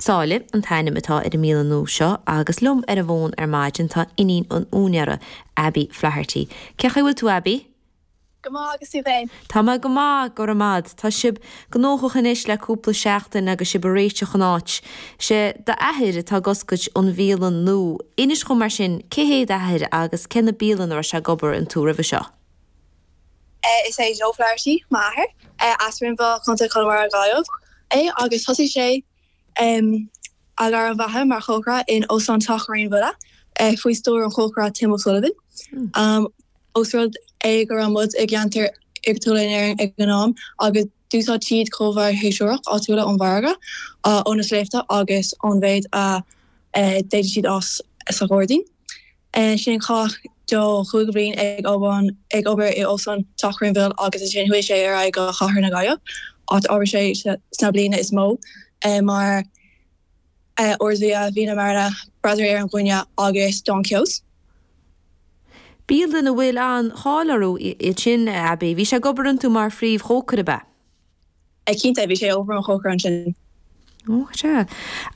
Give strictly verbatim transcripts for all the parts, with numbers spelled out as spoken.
Sáile an t-ainm atá ar an mbialann nua seo agus liom ar an bhfón ar maidin tá iníon an úinéara, Abbie Flaherty. Cén chaoi a bhfuil tú Abbie? Go maith agus tú féin? Tá mé go maith, go raibh maith. Tá sibh gnóthach anois le cúpla seachtain agus sibh ag réiteach an áit. Sé d'athair atá ag oscailt an bhialann nua. Inis dhom mar sin, cé hé d'athair agus cé na bialanna a raibh sé ag obair iontu roimhe seo? Is é Joe Flaherty m'athair, as Rinn Mhór, Contae Chonamara Gaillimh é agus thosaigh sé a ghairm bheatha mar chócaire in Óstán Teach Réin Bhuile faoi stiúir an chócaire Tim O'Sullivan. Ós rud é go raibh muid i gceantar iargúlta in Éirinn ag an am agus d'úsáid siad comhábhair shéasúrach áitiúla ón bhfarraige, ó na sléibhte agus ón mhéid a d'fhéadfadh siad fhás sa ghairdín. Ansin chaith Joe cúig bhliain ag ag obair i Óstán Teach Rinn Mhill agus ansin chuaigh sé ar aghaidh go Chathair na Gaillimhe, áit a oibrigh sé sna bliana is mó mar Ard-Bhia, Vina Marina, Brasserie ar an Ghuaire agus Don Keogh's. Bialanna a bhfuil an-cháil orthu iad sin, Abbie. Bhí sé ag obair iontu mar phríomhchócaire, ab ea? Cinnte, bhí sé ag obair mar chócaire ansin. Ó, sea.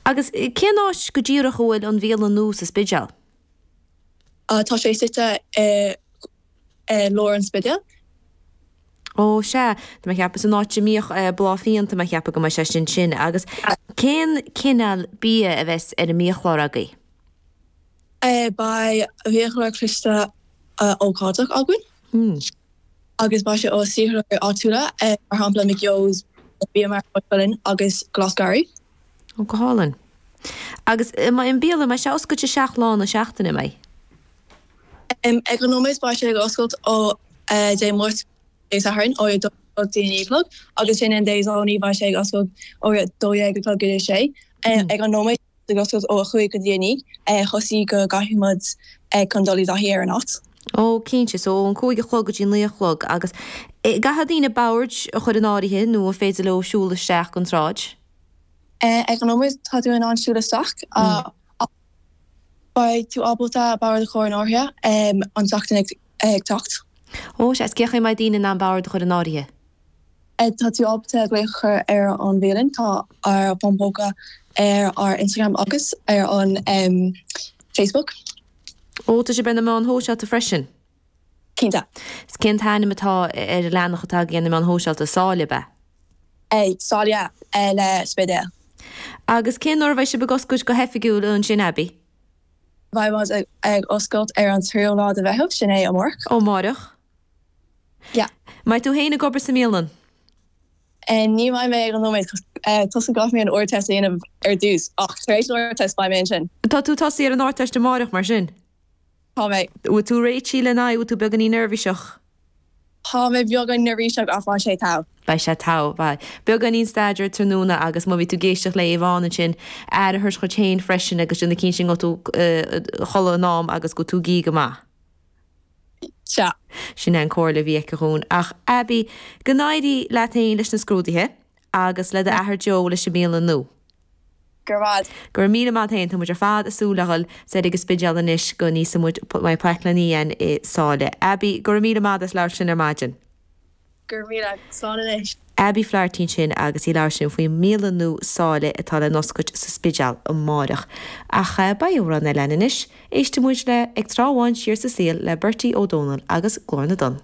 Agus cén áit go díreach a bhfuil an bhialann nua sa Spidéal? Tá sé suite i lár an Spidéil. Ó, sea. Tá mé ag ceapadh san áit a mbíodh Bláth Fíon, tá mé ag ceapadh go mbeidh sé sin sin. Agus cén cineál bia a bheas ar an mbiachlár agaibh? Beidh biachlár cliste ócáideach againn agus beidh sé ó saothróirí áitiúla, mar shampla McGeogh's, Bia Mara Maigh Cuilinn agus Glas Garraí. Ó, go hálainn. Agus an mbeidh an bialann, an mbeidh sé oscailte seacht lá na seachtaine, an mbeidh? Ag an nóiméad beidh sé ag oscailt ó Dé Máirt go Dé Sathairn ó a dó go dtí a naoi a chlog agus ansin Dé Domhnaigh beidh sé ag oscailt ó a dó dhéag a chlog go dtí a sé. Ag an nóiméad ag oscailt ó a cúig go dtí a naoi toisc go gcaithfidh muid chun dul i dtaithí ar an áit. Ó, cinnte, so ón cúig a chlog go dtí naoi a chlog agus gcaithfidh daoine boird a chur in áirithe nó an féidir leo siúl isteach den tsráid? Ag an nóiméad tá tú in ann siúl isteach ach beidh tú ábalta bord a chur in áirithe an tseachtain ag teacht. Ó, sea, is cén chaoi a mbeidh daoine in ann bord a chur in áirithe? Tá tú ábalta glaoch a chur ar an bhialann, tá ár bhfón póca ar ár Instagram agus ar an Facebook. Ó, tá sibh ar na meáin shóisialta freisin? Cinnte. Is cén t-ainm atá ar an leathanach atá agaibh ar na meáin shóisialta? Sáile, ab ea? Sáile le Spidéal. Agus cén uair a bheidh sibh ag oscailt go hoifigiúil ansin, Abbie? Beidh muid ag oscailt ar an tríú lá de Mheitheamh, sin é amárach. Ó, amárach. Yeah. Mbeidh tú féin ag obair sa mbialann? Ní bheidh mé ag an nóiméad toisc go gcaithfidh mé an Ardteist a dhéanamh ar dtús ach tar éis an Ardteist beidh mé ansin. Tá tú tosaí ar an Ardteist amárach mar sin? Tá mé. Bhfuil tú réitithe lena aghaidh, bhfuil tú beagáinín neirbhíseach? Tá mé beagán neirbhíseach ach beidh sé togha. Beidh sé togha, beidh. Beagáinín staidéir tráthnóna agus má bhí tú ag éisteacht le Yvonne ansin, aire a thabhairt dhuit féin freisin agus déanamh cinnte go bhfuil tú a chodladh in am agus go bhfuil tú ag ithe go maith. Sea. Sin é an comhairle a bhí aici dhúinn. Ach Abbie, go n-éirí leat féin leis na scrúduithe agus le d'athair Joe leis an mbialann nua. Go raibh maith. Go raibh míle maith a't féin. Tá muid ar fad ag súil le dhul soir ag an Spidéal anois go n-íosfaidh muid mbeidh plaic lena againn i Sáile. Abbie, go raibh míle maith as labhairt linn ar maidin. Go raibh míle. Slán anois. Abbie Flaherty ansin agus í ag labhairt linn faoin mbialann nua Sáile atá le n-oscailt sa Spidéal amáireach. Ach beidh amhrán eile againn anois. Éistfidh muid le Ag Trá Bháin Siar sa Saol le Bertie Ó Dónaill agus Glór na dTonn.